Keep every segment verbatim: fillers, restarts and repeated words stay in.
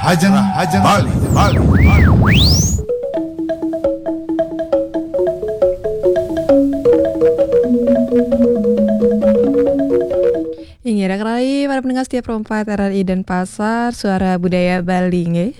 Rahajeng, Rahajeng Bali, Bali, Bali. Inggih, raka rai para pendengar setia Pro empat R R I Denpasar, Suara Budaya Bali, nggih.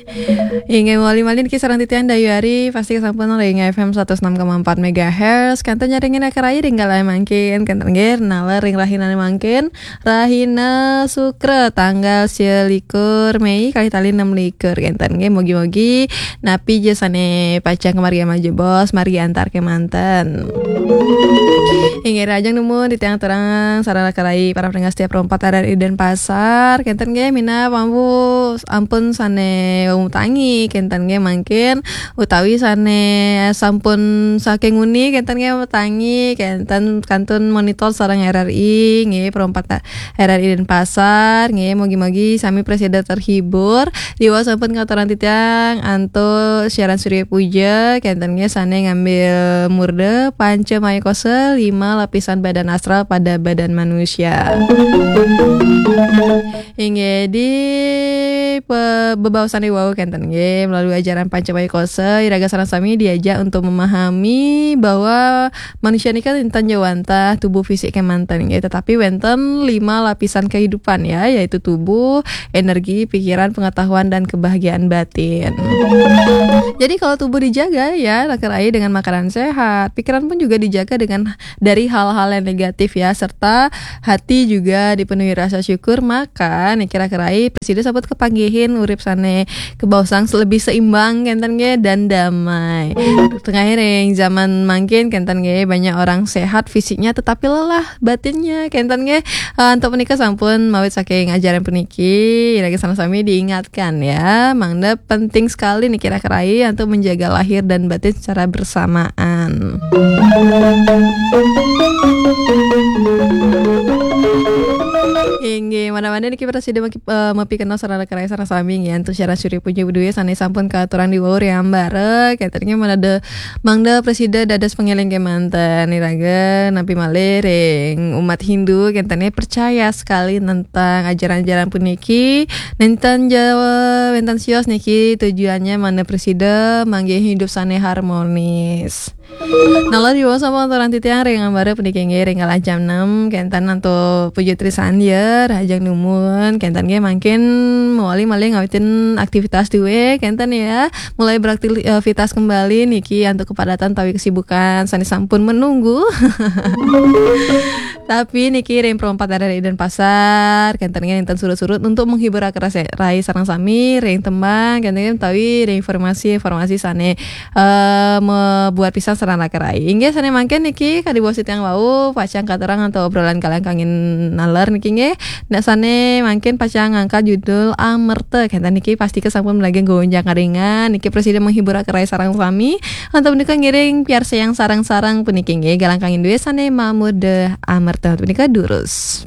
Inggih, mawali malih niki sareng titiang Dayu Ari, pasti sampun ring F M satus enam koma empat megahertz, kantun nyaringin raka rai ring galah mangkin, kantun nggih, naler ring rahinane mangkin, rahina Sukra, tanggal selikur Mei, kalih tali enam likur, kantun nggih, mugi-mugi napi ja sane pacang kamargi majebos, margi antar kemanten. Inggih, rahajeng nuwun titiang aturang sareng raka rai para pendengar setia Pro empat R R I Denpasar, kenten nggih, minab ampun, ampun sane tangi, kenten nggih, mangkin utawi sane sampun saking nguni, kenten nggih, tangi, kenten kantun monitor sareng R R I nggih, Pro empat R R I Denpasar nggih, mugi-mugi sami prasida terhibur. Riwau sampun katuran titiang antuk siaran Surya Puja, kenten nggih sane ngambil murda Panca Maya Kosa, lima lapisan badan astral pada badan manusia. Inggih, di pe-, bebaosan riwau kenten nggih, melalui ajaran Panca Maya Kosa, iraga sareng sami diajak untuk memahami bahwa manusia niki kan wenten ja wantah tubuh fisik kemanten nggih, tetapi wenten lima lapisan kehidupan ya, yaitu tubuh, energi, pikiran, pengetahuan, dan kebahagiaan batin. Jadi kalau tubuh dijaga ya, raka rai, dengan makanan sehat, pikiran pun juga dijaga dengan dari hal-hal yang negatif ya, serta hati juga dipenuhi rasa syukur, maka niki raka rai prasida sampun kapanggihin urip sane kabaosang lebih seimbang kenten nggih dan damai. Tengah ring zaman mangkin kenten nggih banyak orang sehat fisiknya tetapi lelah batinnya kenten nggih. Eh, antuk punika sampun mawit saking ajaran puniki, iraga sareng sami diingatkan ya, mangda penting sekali niki raka rai untuk menjaga lahir dan batin secara bersamaan. Inggih, mangda-mangda niki prasida maki-, eh, mapikenoh sareng raka rai sareng sami nggih, antuk siaran Surya Puja Budaya sane sampun katuran riwau ring ambara, kenten nggih mangda, mangda prasida dados pangeling kemanten, iraga napi malih ring umat Hindu, kenten nggih percaya sekali tentang ajaran-ajaran puniki, nenten ja wenten sios niki tujuannya mangda prasida manggihin hidup sane harmonis. Naler riwau sampun katuran titiang ring ambara puniki nggih ring galah jam enam, kenten antuk Puja Trisandya, rahajeng nuwun, kenten nggih mangkin mawali malih ngawitin aktivitas duwe, kenten ya. Mulai beraktivitas kembali niki antuk kepadatan utawi kesibukan sane sampun menunggu. Tapi niki ring Pro empat R R I Denpasar, kenten nggih nenten surut-surut untuk menghibur raka rai sareng sami ring tembang, kenten nggih utawi ring informasi-informasi sane eh, mabuat pisan sareng raka rai. Inggih sane mangkin niki kadi basa titiang wau pacang katurang antuk obrolan kalangkangin naler niki nggih. Nek sane mangkin pacang ngangkat judul Amerta kenten niki pastika sampun malih gonjang karingan niki prasida menghibur raka rai sareng sami. Antuk punika ngiring piarsayang sareng-sareng puniki nggih kalangkangin duwe sane mamurda Amerta punika durus.